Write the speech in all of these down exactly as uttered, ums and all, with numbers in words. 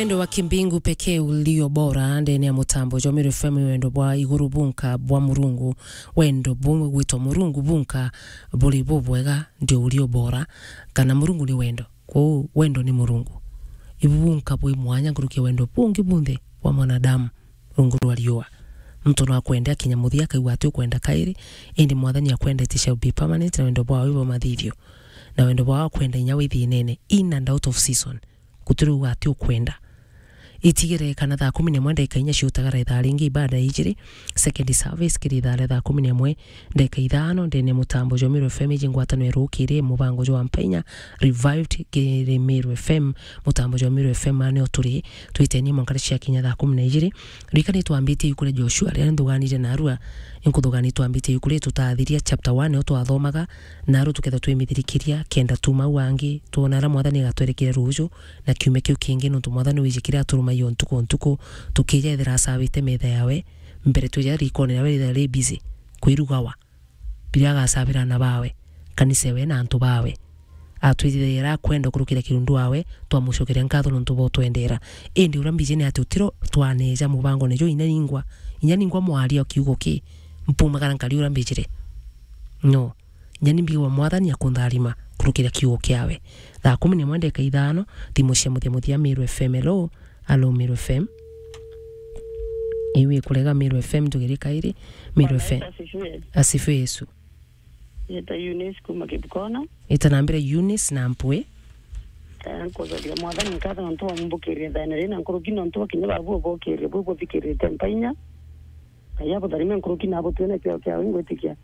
Wendo wa kimbingu pekee ulio bora ndene ya mutambo jwa Meru F M, wendo bwa iguru bunka bwa Murungu, wendo bumwe gwitwa Murungu bunka buri bubwega ndio ulio bora, kana Murungu ni wendo. Kwou wendo ni Murungu. Ibu bunka bwi mwanya nkuruki ya wendo bungi bunthe bwa mwanadamu rungu rwa riua. Muntu no akwende akinya muthia akaigua ati ukwenda kairi, indi Mwathani akwendete shall be permanent, na wendo bwawe bwa mathithio. Na wendo bwawe akwenda inya wi thinene, in and out of season. Gutiri uga ati ukwenda. Itigere kana thaa kumi na imwe ndagika inya ciutagara ithaa ringi ibada ijiri, second service kiri ithaa ria thaa kumi na imwe ndagika ithano, ndene mutambo jwa Meru F M iji ngwatano irukiri mubango jwa Mpainya Revived kiri Meru F M, mutambo jwa Meru F M anio turi, twitenie mwanka cia kinya thaa kumi na ijiri. Rikani twambitie iku ria Joshua, riria nthuganire narua, inkuthuganire twambitie iku ria tutathiria chapter one, nio twathomaga, naru tuketha twimithirikiria, kenda tuma au angi, twona aria Mwathani agatwerekera ruju, na kiumia kiu kingi, nontu Mwathani wiji kiria aturumagia o ntuku o ntuku, tukija ethira acabite metha yawe, mbere twija rikone nawe rithaira ri busy, kwirugawa, biria agacabira ana bawe, kanisa ewe na antu bawe. Atwithithagira akwenda kurukira kirundu wawe, twamucokeria nkatho nontu bwa utwendera. Indi uria mbiji ni ati utiro twaneja mubangone juu inya ningwa, inya ningwa mwaria o kiugo ki, mpumagara nkari uria mbijire. No. Nyani mbigagwa Mwathani akuntharima kurukira kiugo kiawe. Thaa kumi na imwe ndagika ithano, thimu cia muthia muthia Meru F M. Hello? Hello, Meru F M. Iwi kurega Meru F M, tugerie kairi. Meru Bwana F M. Yesu asifiwe. Asifiwe Yesu. Yeta Eunice kuma Kibukona. Ita nambira Eunice na Mpwe. Eh, nkucokeria Mwathani nkatho nontu wa mumbukirie thene rina nkuruki nontu wa kinya babu ubukirie bu buthikirite mpainya. Ngai abutharime nkuruki na abutwire na kiao kiawe ngwitikia.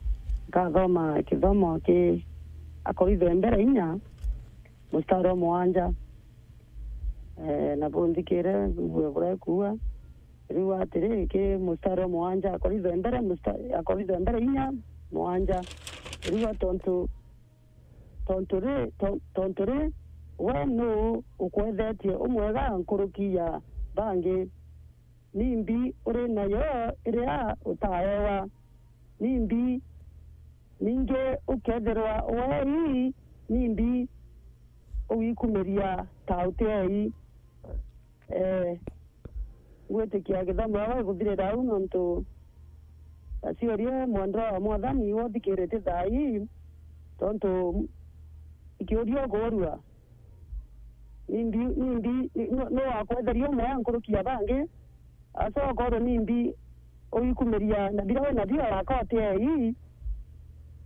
Nkathoma kithomo ki Akorintho ya mbere inya, mustari wa muanja. Eh, na bunthikire, mbue buria ikuuga. Riu atiri, ki mustari wa muanja, Akorintho ya mbere, musta-, Akorintho ya mbere inya, muanja. Riu tontu, tontu ri, ton-, tontu ri, we nuu ukwethetie umwega nkuruki ya bangi? Nimbi uri nayo iria utaewa? Nimbi ningi ukethirwa wei? Nimbi ugikumiria ta utiei? Eh, ngwitikia githomo gigikuthirira au, nontu aciurie mwendwa wa Mwathani iwe uthikiritie thaa ii, tontu ikiuria ukuurua. Nimbi, nimbi, ni, nu, nu wakwetheria umwe nkuruki ya bangi? Aca ukorwo nimbi ugikumiria na biria wi nabio araka utiei,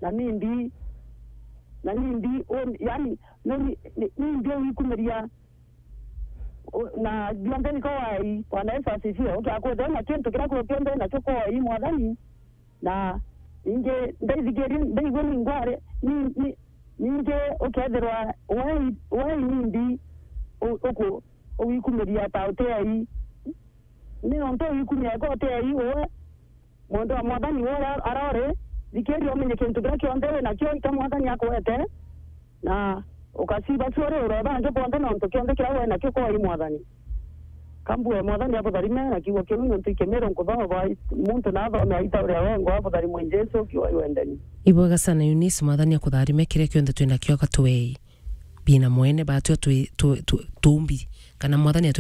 na nimbi, na nimbi, u, yani, nu, ni, ni, nimbi ugikumiria, u, na bionthe niko wai, Bwana Yesu asifiwe. Ukiakwithirwa na kintu kiria kio kionthe nakio kwa wai Mwathani, na ningi ndaithikirie, ndaigua ningware, ni, ni, ningi ukethirwa wai, wai nimbi u, uku, ugikumiria ta utiei. Ni nontu ugikumia eka utiei uwe, mwendwa wa Mwathani uria arori, thikiria umenye kintu kiria kionthe wi nakio, ita Mwathani akwete, na ukaciba cio uri urwe bangi bonthe, nontu kionthe kiria wi nakio koi Mwathani. Kambue Mwathani abutharime na kiugo kiu, nontu ikimiro nkuthoma bwa muntu na athome aita uria wengwa abutharimwe Jesu kiwa iwendeni. Ibwega sana Eunice, Mwathani akutharime kiria kionthe twina kio akatuei. Bina mwene batwe twi, tu, tu, tumbi, kana Mwathani